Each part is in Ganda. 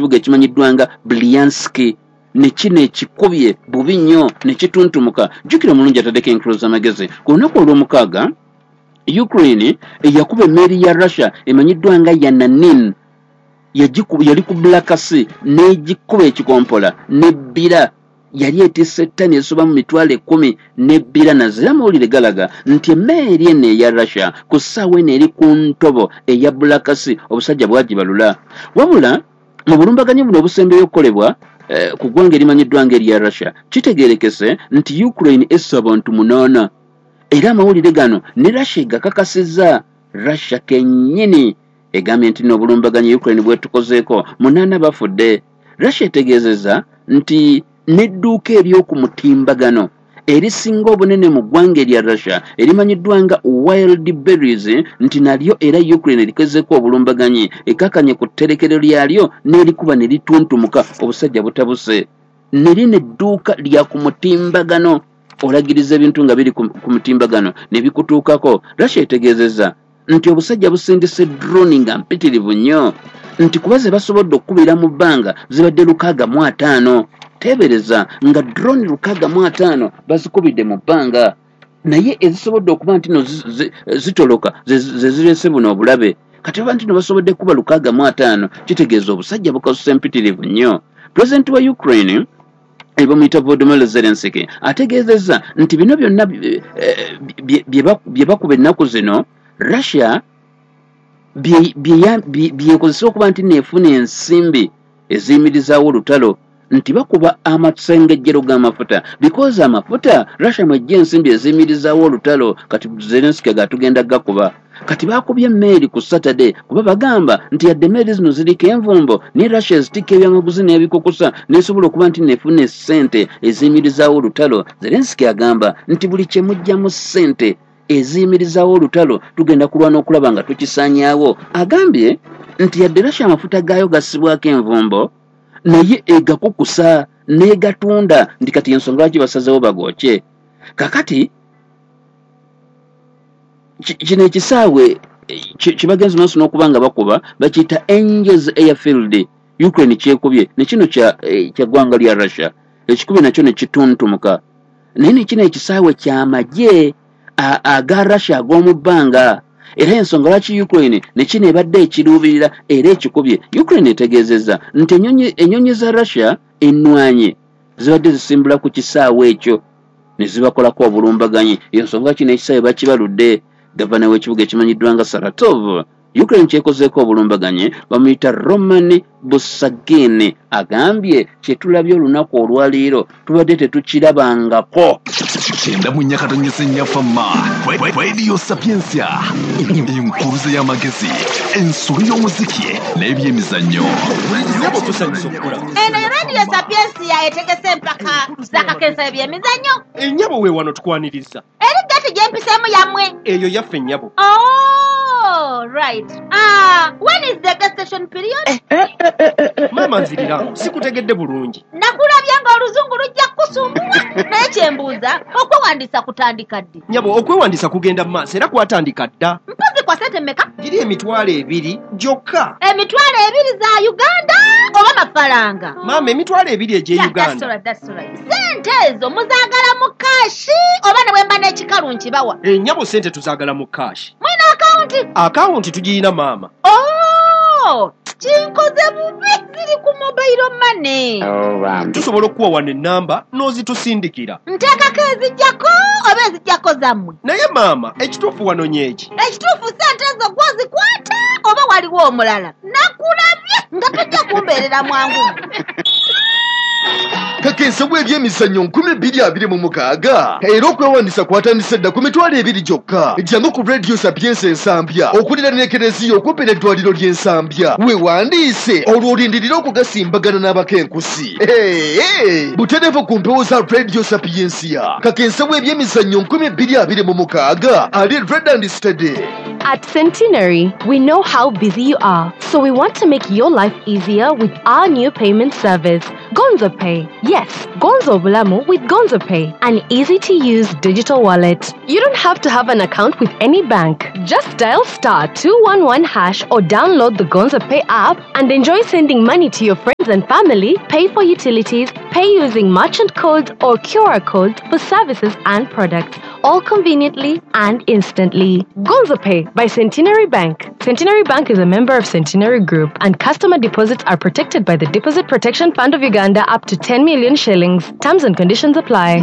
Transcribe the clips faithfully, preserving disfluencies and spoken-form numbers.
ekibuga ekimanyiddwa nga Bryansk, ne kino ekikubye bubi nnyo ne kituntumuka. Jjukira omulungi ataddeko enkulu z'amagezi, ku lunaku olw'omukaaga Ukraine eyakuba emmeeri ya Russia emanyiddwa nga Yananin, yali ku Black Sea, n'egikuba ekikompola n'ebbira. Yali etisse ettani ezisoba mu mitwalo ekkumi n'ebbira. Nazira amawulire galaga nti emmeeri eno eya Russia ku ssaawa eno eri ku ntobo eya Black Sea, obusajja bwagibalula. Wabula mu bulumbaganyi buno obusembeyo okukolebwa ku ggwanga erimanyiddwa ng'erya Russia, kitegeerekese nti Ukraine esse abantu munaana, era amawulire gano ne Russia egakakasizza. Russia kennyini egambye nti n'obulumbaganyi Ukraine bwetukozeeko munaana bafudde. Russia etegeezezza nti n'edduuka ery'oku mutimbagano erisinga obunene mu ggwanga erya Russia erimanyiddwa nga Wild Berries nti nalyo era Ukraine erikozeeko obulumbaganyi, ekakanye ku tterekero lyalyo n'erikuba ne lituntumuka, obusajja butabuse. Ne lino edduuka lya ku mutimbagano, olagiriza ebintu nga biri ku mutimbagano ne bikutuukako. Russia etegeezezza nti obusajja busindise drone nga mpitirivu nnyo, nti kuba ze basobodde okukubira mu bbanga zibadde lukaaga mu ataano. Teebereza nga drone lukaaga mu ataano bazikubidde mu bbanga, naye ezisobodde okuba nti no zitoloka ze zireese buno obulabe. Kati oba nti no basobodde kuba lukaaga mu ataano, kitegeeza obusajja bukasusa empitirivu nnyo. Pulezidenti wa Ukraine bamuyita Volodymyr Zelensky ategeezezza nti bino byonna bye bakuba ennaku zino Russia byekozesa okuba nti neefuna ensimbi eziyimirizaawo olutalo, nti bakuba amasengejjero g'amafuta because amafuta Russia mwejja ensimbi eziyimirizaawo olutalo. Kati Zelensky gatugenda gakuba. Kati bakubye emmeeri ku Saturday kuba bagamba nti yadde emmeeri zino ziriko envumbo, ne Russia ezitikka ebyamaguzi n'ebikukusa n'esobola okuba nti neefuna essente eziyimirizaawo olutalo. Zelensky agamba nti buli kye mujjamu ssente eziyimirizaawo olutalo tugenda kulwana okulaba nga tukisaanyaawo. Agambye nti yadde Russia amafuta gaayo gassibwako envumbo, naye egakukusa n'egatunda, nti kati ensonga lwaki basazeewo bagookye. Kakati kino ekisaawe kibagenzi maaso n'okuba nga bakuba bakiyita Angels Airfield, Ukraine kyekubye ne kino kya ggwanga lya Russia ekikubye nakyo ne kituntumuka. Naye ne kino ekisaawe ky'amagye aga Russia ag'omu bbanga, era ensonga lwaki Ukraine ne kino ebadde ekiruubirira era ekikubye. Ukraine etegeezezza nti ennyonyi za Russia ennwanyi zibadde zisimbula ku kisaawe ekyo ne zibakolako obulumbaganyi. Ensonga kino ekisaawe bakibaludde. Gavana w'ekibuga ekimanyiddwa nga Saratov, Ukraine kyekozeeko obulumbaganyi bamuyita Roman Busagin, agambye kye tulabye olunaku olwaleero tubadde tetukirabangako. Kyenda mu nnya katonyese nnya fama Radio Sapientia, enkuruze y'amagezi, ensolo y'omuziki n'ebyemizannyo. Eno Radio Sapientia etegese empaka z'akakensa ebyemizannyo. Ennyabo we wano tukwaniriza. Eri gati gyempiseemu yammwe. Eyo yaffe nnyabo. Oh, right. Ah, when is the gestation period? Eh, eh, eh, eh, eh. Mama nzirira, sikutegedde bulungi. Nakulabye ng'oluzungu lujja kukusumbuwa. Naye kyembuuza, okwewandiisa kutandika ddi? Nyabo, okwewandiisa kugenda mu maaso era kwatandika dda. Mpozi kwa ssente mmeka? Giri emitwalo ebiri gyokka. Emitwalo ebiri za Uganda oba mafaranga? Mama, emitwalo ebiri egy'e Yeah, Uganda. That's all right, that's all right. Ssente ezo muzaagala mu kaashi oba ne bwe mba n'ekikalu nkibawa? Ennyabo ssente tuzaagala mu kaashi. Mulina akawunti? Akawunti tugiyina maama. Oh, kinkoze bubi, ziri ku mobile money. Tusobola okuwa wano ennamba n'ozitusindikira. Nteekako ezijjako oba ezijjako zammwe? Naye maama, ekituufu wano nyeeki. Ekituufu ssente ezo gw'ozikwata oba waliwo omulala? Nakulabye nga tojja kumbeerera mwangu. Kakensa bw'ebyemizannyo nkumi bbiri abiri mu mukaaga era okwewandiisa kwatandise dda ku mitwalo ebiri gyokka. Jangu ku Radio Sapientia Ensambya okuliraana Ekereziya okumpi n'eddwaliro ly'Ensambya, weewandiise olwo olindirire okugasimbagana n'abakenkusi. Butereevu ku mpewo za Radio Sapientia. Kakensa bw'ebyemizannyo nkumi bbiri abiri mu mukaaga ali red and steady. At Centenary, we know how busy you are, so we want to make your life easier with our new payment service. Go Gonzo Pay. Yes, Gonzo Bulamu with Gonzo Pay, an easy-to-use digital wallet. You don't have to have an account with any bank. Just dial star two one one hash or download the Gonzo Pay app and enjoy sending money to your friends and family, pay for utilities, pay using merchant codes or Q R codes for services and products, all conveniently and instantly. Gonzo Pay by Centenary Bank. Centenary Bank is a member of Centenary Group, and customer deposits are protected by the Deposit Protection Fund of Uganda up to ten million shillings. Terms and conditions apply.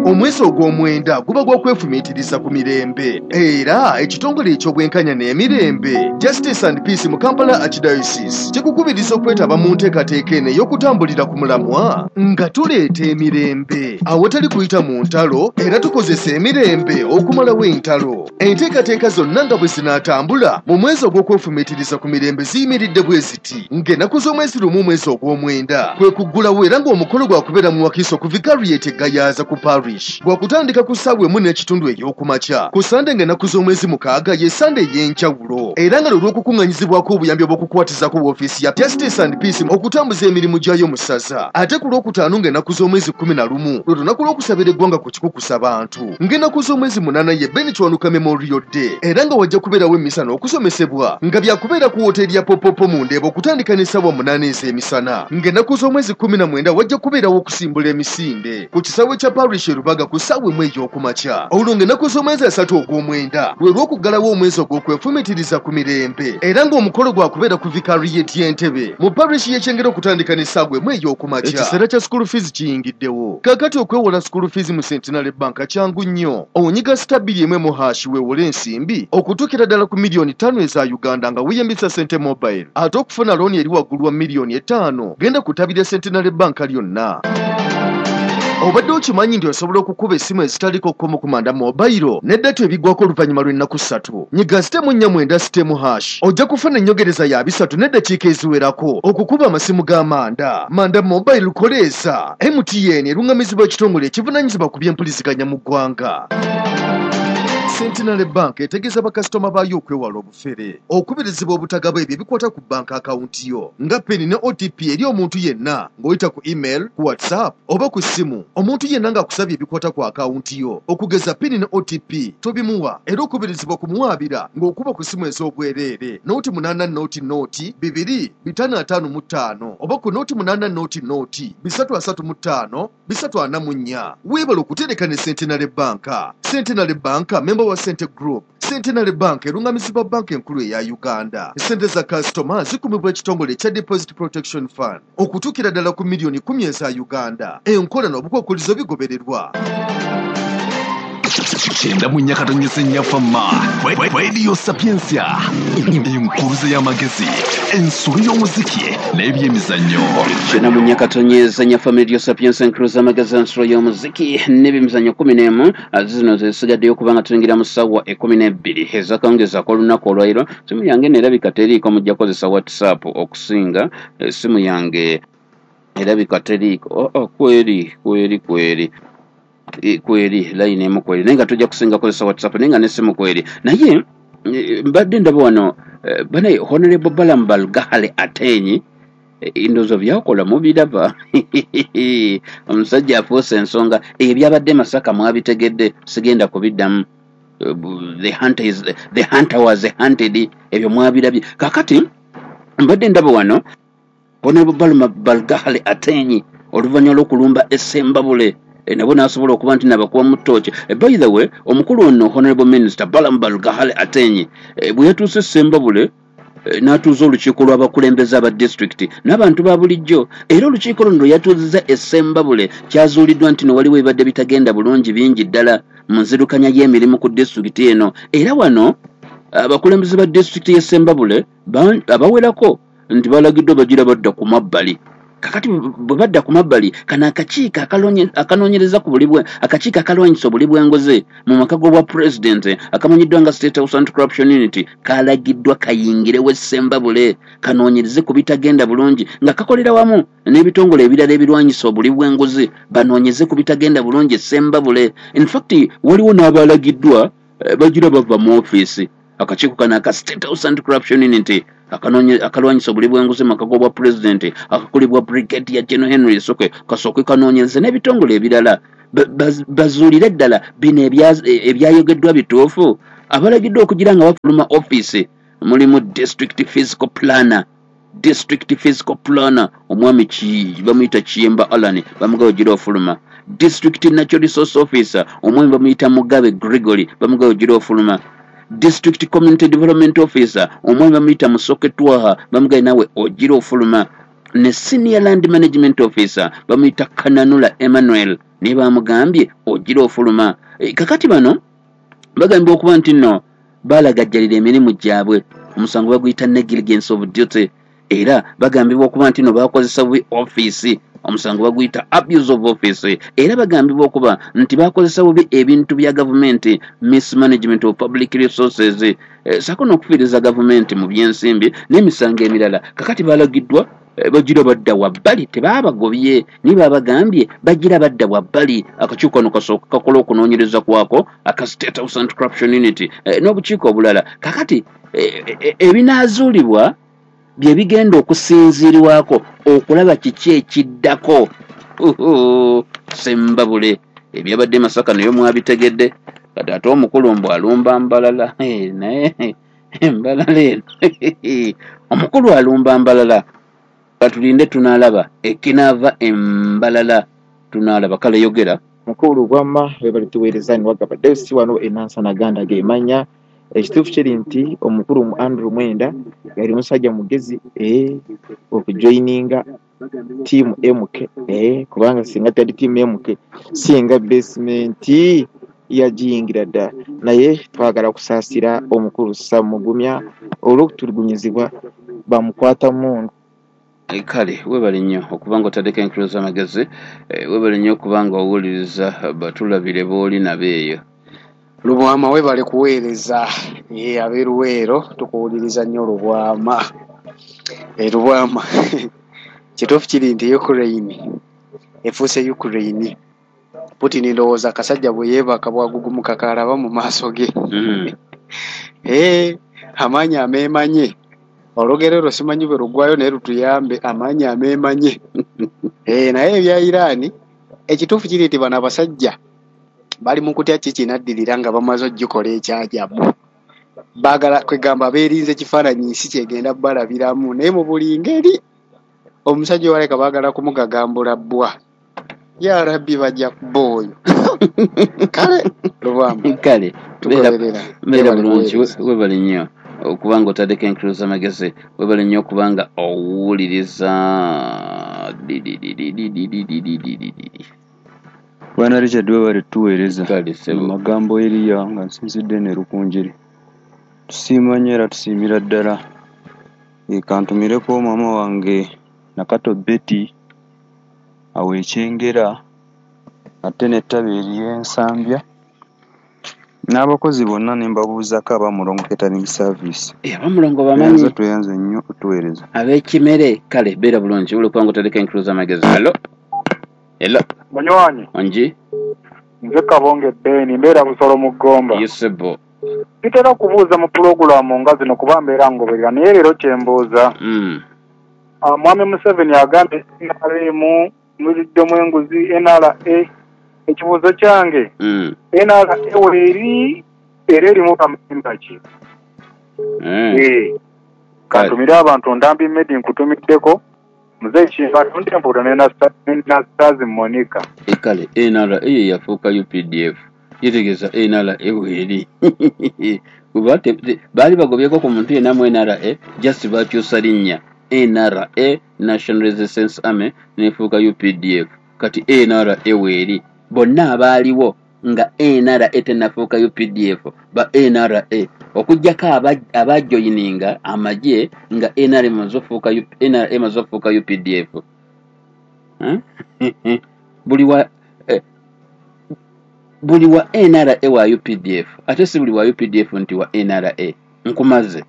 Omwezi ogw'omwenda guba gwa kwefumiitiriza ku mirembe, era ekitongole eky'obwenkanya n'emirembe Justice and Peace mu Kampala Archdiocese kikukubiriza okwetaba mu nteekateeka eno ey'okutambulira ku mulamwa nga tuleeta emirembe awatali kuyita mu ntalo, era tukozesa emirembe okumalawo entalo. Enteekateeka zonna nga bwe zinaatambula mu mwezi ogw'okwefumiitiriza ku mirembe ziyimiridde bwe ziti: ng'ennaku z'omwezi lumu omwezi ogw'omwenda kwe kuggulawo, era ng'omukolo gwakubeera mu Wakiso ku Vicariate Gayaza ku Parish, gwakutandika ku ssaawa emu n'ekitundu ey'okumakya. Ku Sande ng'ennaku z'omwezi mukaaga ye Sande ey'enjawulo, era nga lwe lw'okukuŋŋanyizibwako obuyambi obw'okukwatizako woofiisi ya Justice and Peace okutambuza emirimu gyayo mu ssaza. Ate ku lwokutaano ng'ennaku z'omwezi kkumi na lumu lwe lunaku lw'okusabira eggwanga ku kikukusa bantu. Ng'ennaku z'omwezi munaana ye Ben Kiwanuka Memorial Day, era nga wajja kubeerawo emmisa n'okusomesebwa nga byakubeera ku wooteeri ya Popopo mu Ndeeba okutandika n'essaawa munaana ez'emisana. Ng'ennaku z'omwezi kkumi na mwenda wajja kubeerawo okusimbula emisinde ku kisaawe kya Parish Rubaga ku ssaawa emu ey'okumakya. Olwo ng'ennaku z'omwezi asatu ogw'omwenda lwe lw'okuggalawo omwezi ogw'okwefumiitiriza ku mirembe, era ng'omukolo gwakubeera ku Vicariate y'Entebe mu parish y'Ekyengera okutandika n'essaawa emu ey'okumakya. Ekiseera kya school fees kiyingiddewo. Kaakati okwewola school fees mu Centenary Bank kyangu nnyo. Onyiga star bbiri emu emu hash weewole ensimbi okutuukira ddala ku miliyoni ttaano eza Uganda nga weeyambisa Sente Mobile. Ate okufuna looni eri waggulu wa miliyoni etaano genda kutabira Centenary Bank lyonna. Obadde okimanyi nti osobola okukuba essimu ezitaliko kkomo ku Manda Mobile ne data ebigwako oluvannyuma lw'ennaku ssatu? Nyiga sitemu nnya mwenda sitemu hash ojja kufuna ennyongereza ya bisatu n'eddakiika eziwerako okukuba amasimu ga Manda. Manda Mobile koleesa M T N eruŋŋamizibwa ekitongole ekivunaanyizibwa ku by'empuliziganya mu ggwanga. Centenary Bank etegeeza bakasitoma baayo okwewala obufere, okubirizibwa obutagaba ebyo ebikwata ku banka akawunti yo nga PIN ne O T P eri omuntu yenna ng'oyita ku email, ku WhatsApp oba ku ssimu. Omuntu yenna ng'akusabye ebikwata ku akawunti yo okugeza PIN ne O T P tobimuwa, era okubirizibwa kumuwaabira ng'okuba ku ssimu ez'obwereere nooti munaana nooti nooti bibiri bitaano ataano mu ttaano oba ku nooti munaana nooti nooti bisatu asatu mu ttaano bisatu ana mu nnya. Weebale okutereka ne Centenary Bank. Centenary Bank member wa Sente Group. Centenary Bank erungamizibwa banka enkulu eya Uganda. Sente za kasitoma zikumibwa ekitongole ekya Deposit Protection Fund okutuukira ddala ku miliyoni kkumi eza Uganda. Enkola n'obukwakkulizo bigobererwa. Kyenda mu nnya katonyeze nnya Fama Radio Sapientia, enkuruze y'amagezi, ensulo y'omuziki n'ebyemizannyo. Kyenda mu nnya katonyeze nnya Fama Radio Sapientia, enkuruze y'amagezi, ensulo y'omuziki n'ebyemizannyo kumi n'emu zino zisigaddeyo kubanga tuyingira mu ssaawa ekkumi n'ebbiri ezakawungeezi ak'olunaku olwaleero. Simu yange neerabika teriiko, mujja kukozesa WhatsApp okusinga. Essimu yange erabika teriiko. Oh, kweri kweri kweri kweri line emu kweri, naye nga tujja kusinga kozesa WhatsApp, naye nga n'essimu kweri. Naye mbadde ndaba wano bane Honorable Balaam Barugahara Ateenyi ndowooza byakola mubiraba. Omusajja afuuse ensonga. Ebyabadde Masaka mwabitegedde, sigenda kubiddamu. The hunter is the hunter was hunted, ebyo mwabirabye. Kaakati mbadde ndaba wano Honorable Balaam Barugahara Ateenyi oluvannyuma lw'okulumba Essembabule nabo n'asobola okuba nti nabakuba mu ttooki. By the way, omukulu ono Honorable Minister Balaam Barugahara Ateenyi bwe yatuuse Ssembabule n'atuuza olukiiko lw'abakulembeze aba disitulikiti n'abantu ba bulijjo, era olukiiko luno lwe yatuuzizza Essembabule kyazuuliddwa nti no waliwo ebibadde bitagenda bulungi bingi ddala mu nzirukanya y'emirimu ku disitulikiti eno. Era wano abakulembeze ba disitulikiti y'e Ssembabule abawerako nti balagiddwa bagira badda ku mabbali. Kakati bwe badda ku mabbali, kano akakiiko akanoonyereza ku buli bwe akakiiko akalwanyisa obuli bw'enguzi mu maka g'obwa pulezidenti akamanyiddwa nga State House Anti-Corruption Unit kalagiddwa kayingirewo Essembabule kanoonyereze ku bitagenda bulungi nga kakolera wamu n'ebitongole ebirala ebirwanyisa obuli bw'enguzi banoonyeze ku bitagenda bulungi Essembabule. In fact, waliwo n'abalagiddwa bagira bava mu ofiisi. Akakiiko kano aka State House Anti-Corruption Unit akalwanyisa obuli bw'enguzi mu maka g'obwa pulezidenti akakulibwa Brigadier General Henry Soke kasooke kanoonyereze n'ebitongole ebirala bazuulire ddala bino ebyayogeddwa bituufu. Abalagiddwa okugira nga bafuluma ofiisi mulimu district physical planner district physical planner omwami bamuyita Kiyemba Alan bamugabe ogira ofuluma. District natural resource officer omwami bamuyita Mugabe Gregory bamugabe ogira ofuluma. District community development officer omwami bamuyita Musoke Twaha bamugabe nawe ogira ofuluma. Ne senior land management officer bamuyita Kananula Emmanuel ne bamugambye ogira ofuluma. E, kakati bano bagambye okuba nti nno balagajjalira emirimu gyabwe, omusango baguyita negligence of duty. Era bagambibwa okuba nti nno bakozesa bubi ofiisi, omusango baguyita abuse of office. Era bagambibwa okuba nti bakozesa bubi ebintu bya gavumenti, mismanagement of public resources, e, sako n'okufiiriza gavumenti mu byensimbi n'emisango emirala. Kakati balagiddwa bagira badda wabbali, tebaabagobye naye baabagambye bagira badda wabbali. Akakiiko kano kasooka kakola okunoonyereza kwako aka State House Anti-Corruption Unit e, n'obukiiko obulala. Kakati ebinaazuulibwa e, e, bye bigenda okusinziirwako okulaba kiki ekiddako. Sembabule ebyabadde Masaka nayo mwabitegedde. Kati ate omukulu mbu alumba Mbalala, naye Mbalala eno omukulu alumba Mbalala. Katulinde tunalaba ekinaava Embalala, tunalaba. Kale yogera mukulu gwamma webali tuweereza niwagaba Deusi wano enansana ganda gemanya. Ekituufu kiri nti omukulu mu Andrew Mwenda yali musajja mugezi eh, okujoininga tiimu M K eh, kubanga singa tali tiimu M K singa basement yagiyingira dda. Naye twagala kusaasira omukulu Samugumya olw'okutulugunyizibwa bamukwata mundu. Kale webale nnyo okuba nga otaddeko enkulu z'amagezi, webale nnyo okuba nga owuliriza batulabire b'oli nabo eyo. Lubwama webale kuweereza ye ab'eruweero tukuwuliriza nnyo Lubwama. E Lubwama kituufu kiri nti Ukraine efuuse Ukraine. Putin ndowooza akasajja bwe yeebaka bwagugumuka kalaba mu maaso ge. Mm. Eh, amaanyi ameemanye. Olugero lwo simanyi bwe luggwayo naye lutuyambe, amaanyi ameemanye. Eh, naye ebya Iran ekituufu kiri nti bano abasajja bali mu kutya ki kinaddirira nga bamaze ogikola ekyajabu. Baagala kwegamba beerinze kifaananyi nsi kyegenda balabiramu, naye mu buli ngeri omusajja waleka baagala kumugagambula bbwa. Ya Rabbi bajja kubba oyo. Kale Lubwama kale beera bulungi, webale nnyo okubanga otaddeko enkulu z'amagezi, webale nnyo okubanga owuliriza. Bwana Richard webale tuweereza magambo eriya nga nsinzidde ne Rukunjiri. Tusiima nnyo era tusiimira ddala. Kantumireko maama wange Nakato Betty awo Ekyengera ate n'ettabi ery'Ensambya n'abakozi bonna ne mbabuuzaako abamulongo catering service. Abamulongo bamanyi tweyanze nnyo otuweereza ab'ekimere. Kale beera bulungi uli kubanga otaddeko enkulu z'amagezi. Hello hello munywanyi ongi nze Kabonge Ben mbeera Busolo mu Ggomba. Yesebo bitera kubuuza mu pulogulaamu nga zino kuba mbeera ngoberera, naye leero kyembuuza mm. Mwami Museveni agambye N R M muliddemu enguzi N R A. Ekibuuzo kyange mm. N R A weeri era erimu bamemba ki? mm. Eh, kantumire abantu Ndambi Medi nkutumiddeko Muzeeyi Kimba Ntempula ne Nastazi Monica. Kale N R A yafuuka U P D F yetegeeza N R A weeri. Kuba baali bagobyeko ku muntu yenna mu N R A, just bakyusa linnya N R A National Resistance Army nefuuka U P D F. Kati N R A weeri bonna abaaliwo nga N R A tennafuuka U P D F ba N R A okuggyako abajoyininga amagye nga N R A emaze okufuuka U P D F. Buli wa eh, buli wa N R A wa U P D F ate si buli wa U P D F nti wa N R A. Nkumaze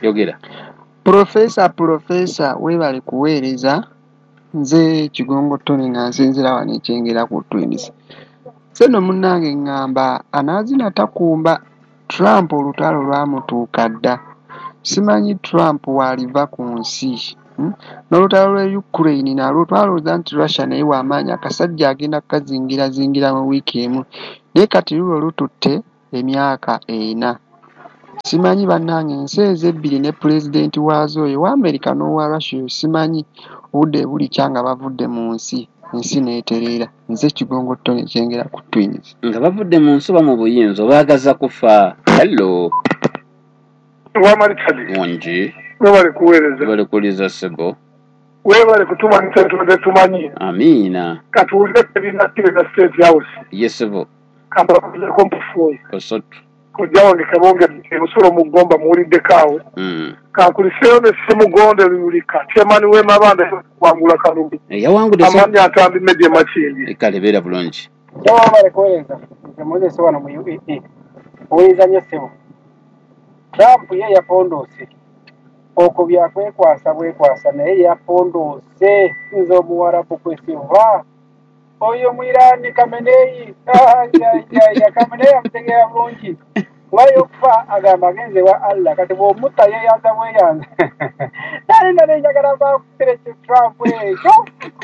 yogera. Profesa Profesa webale kuweereza. Nze Kigongo Tony nga nsinziira wano Ekyengera ku Twins. Seno munnange ŋŋamba anaazina takumba. Trump olutalo lwamutuuka dda. Simanyi Trump w'aliva ku nsi. Hmm? N'olutalo lw'e Ukraine nalwo twalowooza nti Russia naye w'amaanyi, akasajja agenda kukazingirazingira mu wiiki emu, naye kati lulwo lututte emyaka ena. Simanyi bannange ensi ezo ebbiri ne pulezidenti waazo oyo owa America n'owa Russia oyo simanyi obudde bulikya nga bavudde mu nsi, ensi n'etereera. Nze Kigongo Tony Kyengera ku Twins. Nga bavudde mu nsi oba mu buyinza obaagaza kufa. Hello. Wama Richard. Wangi. Webale kuweereza. Webale kuwuliriza ssebo. Webale kutumanyisa tubadde tumanyi. Amiina. Katuwulire ebinakkiriza State House. Ye ssebo. Kambabuulireko mpufuoyo. Osatu. Kojja wange Kabonge Busolo mu Ggomba muwuliddeko awo. Mm. Kankuliseeyo ne Ssemugonde Luyulika, chairman w'Emabanda kuwangula kalulu. Yawangudde Amannya Ntambi Meddie Makindye. Kale beera bulungi. Webale kuweereza. Nze Moses wano mu U A E. Owuliriza nnyo ssebo. Trump ye yapondoose. Okwo byakwekwasa bwekwasa naye yapondoose. Nze Omuwarabu kwesiva. Oyo Mwirani Khamenei. Ya Khamenei amutegeera bulungi. Kuba y'okufa agamba agenze wa Allah kati bw'omutta yeeyanza bweyanza. Nali nali njagala bakukire ki Trump ekyo.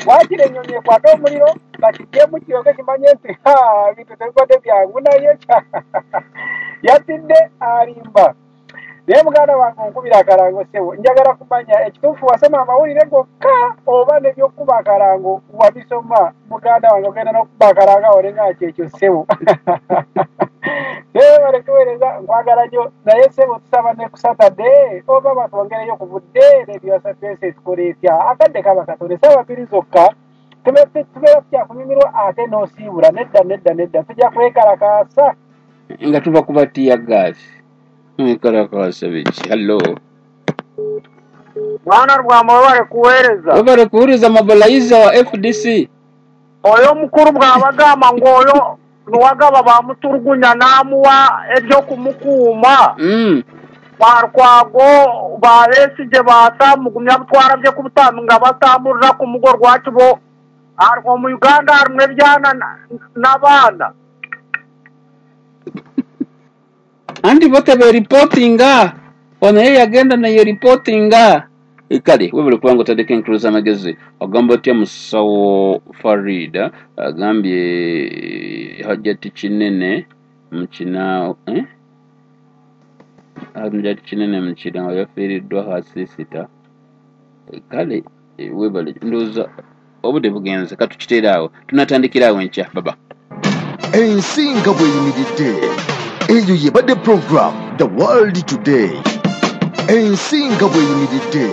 Waakiri ennyonyi ekwate omuliro bakiggyemu kiryoke kimanye nti ha ebintu tebibadde byangu naye yatidde alimba. Naye muganda wange onkubira akalango ssebo, njagala kumanya ekituufu wasoma amawulire gokka oba n'ebyokukuba akalango wabisoma. Muganda wange ogenda n'okukuba akalango awo olenga kyekyo ssebo. Webale kuweereza, nkwagala nnyo naye ssebo tusaba ne ku Saturday oba batwongereyo ku budde Radio Sapientia ekola etya. Akadde kaba katono, essaawa bbiri zokka tubeera tukyakunyumirwa ate n'osiibula. Nedda nedda nedda, tujja kwekalakaasa nga tuva kuba teargas. Mwekalakaasa biki? Hello. Bwana Rwama webale kuweereza. Webale kuwuliriza mobilizer wa F D C. Oyo omukulu bw'abagamba ng'oyo Nuwagaba bamuturugunya n'amuwa eby'okumukuuma. Mm. Barukwago ba Besigye batamugumya butwara bye ku butamu nga batambulira ku mugo lwaki bo mu Uganda harimu ebyana n'abaana. Anti bote be reportinga ono ye yagenda naye reportinga. Kale webale kubanga otaddeko enkulu z'amagezi. Ogamba otya musawo Farida? Agambye Hajjati Kinene mukina eh? Hajjati Kinene mukina yafiiriddwa hasisita. Kale webale ndowooza obudde bugenze, katukiteere awo, tunatandikira awo enkya. Baba ensi nga bw'eyimiridde. Eyo yebadde program The World Today. Ensi nga bw'eyimiridde.